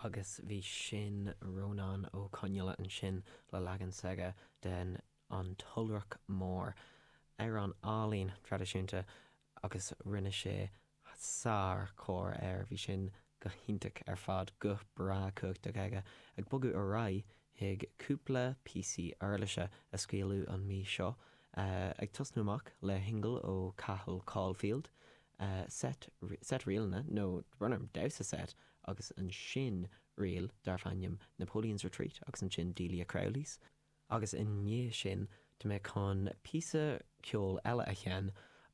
Agus bhí sin Rónán Ó Conghaile ansin le leagan s'aige den An tIolrach Mór, amhrán álainn traidisiúnta agus rinne sé sár-chóir air. Bhí sin go hiontach ar fad, guth breá cumhachtach aige. Ag bogadh ar aghaidh chuig cúpla píosaí uirlise a scaoileadh an mhí seo, ag tosnú amach le shingil ó Cathal Caulfield, seit, seit ríleanna, nó brón orm, damhsa seit, agus ansin ríl darbh ainm Napoleon's Retreat agus ansin Delia Crowley's. Agus i ndiaidh sin, tá mé chun píosa ceoil eile a sheinn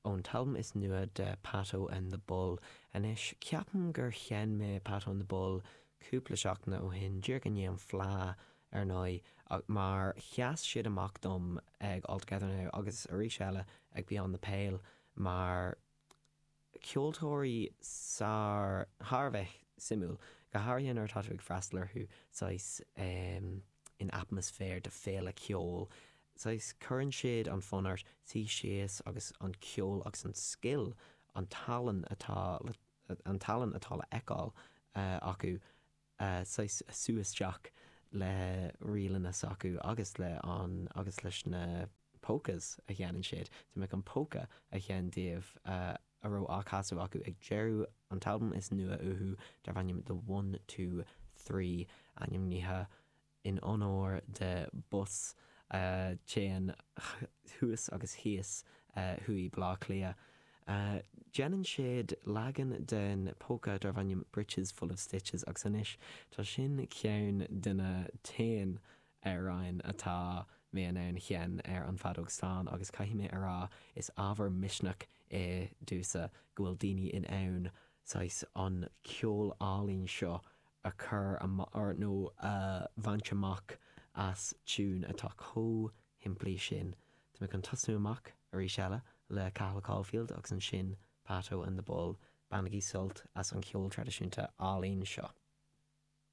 ón t-albam is nua de Pato and the Bull. Anois, ceapaim gur sheinn mé Pato and the Bull cúpla seachtaine ó shin, díreach i ndiaidh an Fleadh, ar ndóigh, mar sheas siad amach dom ag All Together Now agus arís eile ag Beyond the Pale mar ceoltóirí sár, thar a bheith suimiúil, go háirithe nuair atá tú ag freastal orthu saghas in atmaisféar de féile ceoil, saghas cuireann siad an fonn ort suí síos agus an ceol agus an scil, an tallann atá le, an tallann atá le feiceáil acu saghas sú isteach le ríleanna s'acu agus le an agus leis na polkas a sheinneann siad. Tá mé chun polka a sheinn daoibh a raibh á casadh acu ag deireadh an t-albam is nua uathu darb ainm The One Two Three, ainmnithe in onóir de bus a théann thuas agus thíos thuaidh Baile Átha Cliath. Déanann siad leagan den polka darb ainm Britches Full of Stitches agus anois tá sin ceann de na t-aon amhráin atá mé in ann sheinn ar an bhfeadóg stáin agus caithfidh mé a rá is ábhar misneach é domhsa go bhfuil daoine in ann saghas an ceol álainn seo a chur nó a bhaint amach as tiún atá chomh shimplí sin. Tá mé chun tosnú amach arís eile le Cathal Caulfield agus ansin Pato and the Bull. Bainigí sult as an cheol traidisiúnta álainn seo.